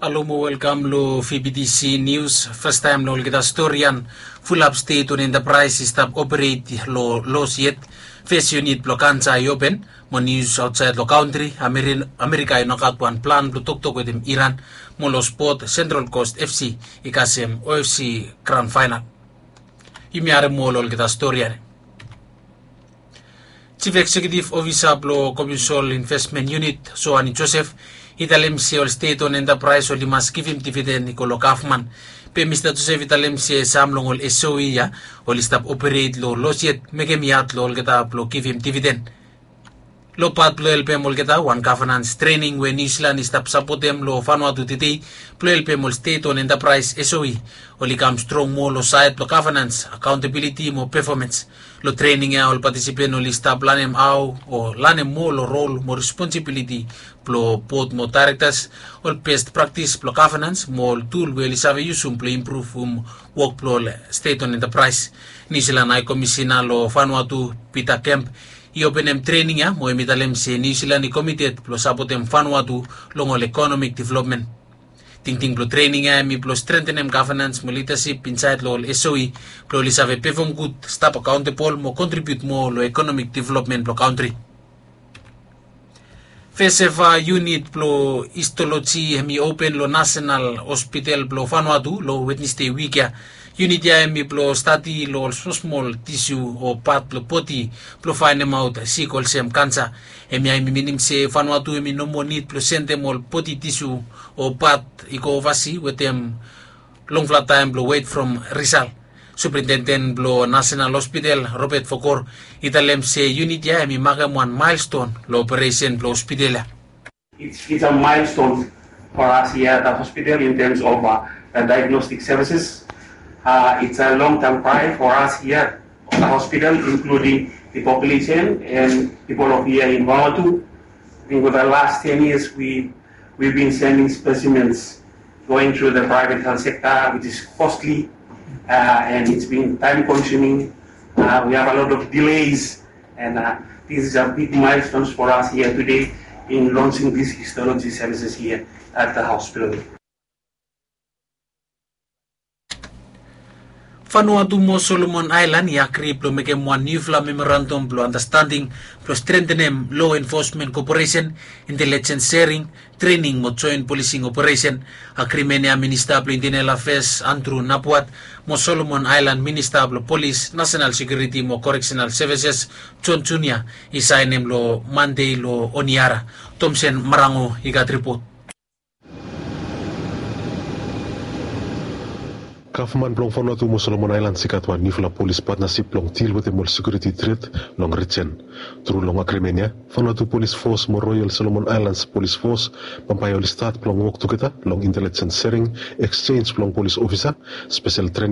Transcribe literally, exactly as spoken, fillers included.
Alo mo welkam lo V B T C News. Fastaem lo olgeta storian. Fulap State Owned Enterprise i stap operate lo los yet. Fes unit blo kansa i open. Mo nius aotsaed lo kantri, Amerika i nogat wan plan blo toktok wetem Iran. Mo lo spot, Central Coast F C i kasem O F C grand final. Yumi harem moa lo olgeta storian. Chief Executive Officer blo Commercial Investment Unit, Soani Joseph, i talem se ol State Owned Enterprise oli mas givim dividend i go lo gavman. Be Mista Joseph i talem se sam long ol S O E ya oli stap operate lo los yet, mekem i had lo olgeta blo givim dividend. Lo pat blo helpem olgeta, wan governance training we Niu Silan i stap sapotem lo Vanuatu tedei blo helpem ol State Owned Enterprise, S O E, oli kam strong moa lo saed blo governance, accountability mo performance. Lo trening ya ol patisipen oli stap lanem hao o lanem moa lo rol mo responsibiliti blo bot mo daerektas, ol best praktis blo governance mo ol tul we oli save yusum blo impruvum wok blo ol State Owned Enterprise. Niu Silan Hae Komisena lo Vanuatu, Peter Kemp, i openem trening ya mo hem i talem se Niu Silan i komited blo sapotem Vanuatu long ol ekonomik developmen. Tingting blo trening ya hemi blo strengtenem governance mo lidasip insaed lo ol S O E blo oli save pefom gud, stap akaontebol mo kontribiut moa lo ekonomik developmen blo kantri. Fes eva unit blo histoloji hemi open lo Nasenal Hospital blo Vanuatu lo Wednesde wik ya. Unit ya hemi blo stadi lo ol smosmol tisu o pat blo bodi blo faenemaot sik olsem kansa. Hemia hemi minim se Vanuatu hemi no moa nid blo sendem ol bodi tisu o pat i go ovasi wetem longfala taem blo wet from risal. Superintenden blo Nasenal Hospital, Robert Vokor, i talem se unit ya hemi makem wan maelston lo operesen blo hospital ya. It's, it's a milestone for us here at the hospital in terms of uh, the diagnostic services. Uh, it's a long-term cry for us here at the hospital, including the population and people of here in Vanuatu. I think for the last ten years, we, we've been sending specimens going through the private health sector, which is costly uh, and it's been time consuming. Uh, we have a lot of delays, and uh, this is a big milestone for us here today in launching these histology services here at the hospital. Vanuatu mo Solomon Aelan i agri blo mekem wan niufala memorandum blo andastanding blo strentenem lo enfosmen koporesen, intelijens sering, trening mo joen polising operesen. Agrimen ya Minista blo Intenel Afeas Andrew Napuat mo Solomon Aelan Minista blo Polis, Nasenal Sekiuriti mo Koreksenal Sevises John Junia i saenem lo Mande lo Honiara. Tomsen Marango i gat ripot. Gavman blong Vanuatu mo Solomon Aelan i gat wan niufala polis patnasip blong dil wetem ol sekiuriti tret long rijen. Tru long agrimen ya, Vanuatu Polis Fos mo Royal Solomon Aelan Polis Fos bambae oli stat blong wok tugeta long intelijens sering, eksenj blong polis ofisa, spesel trening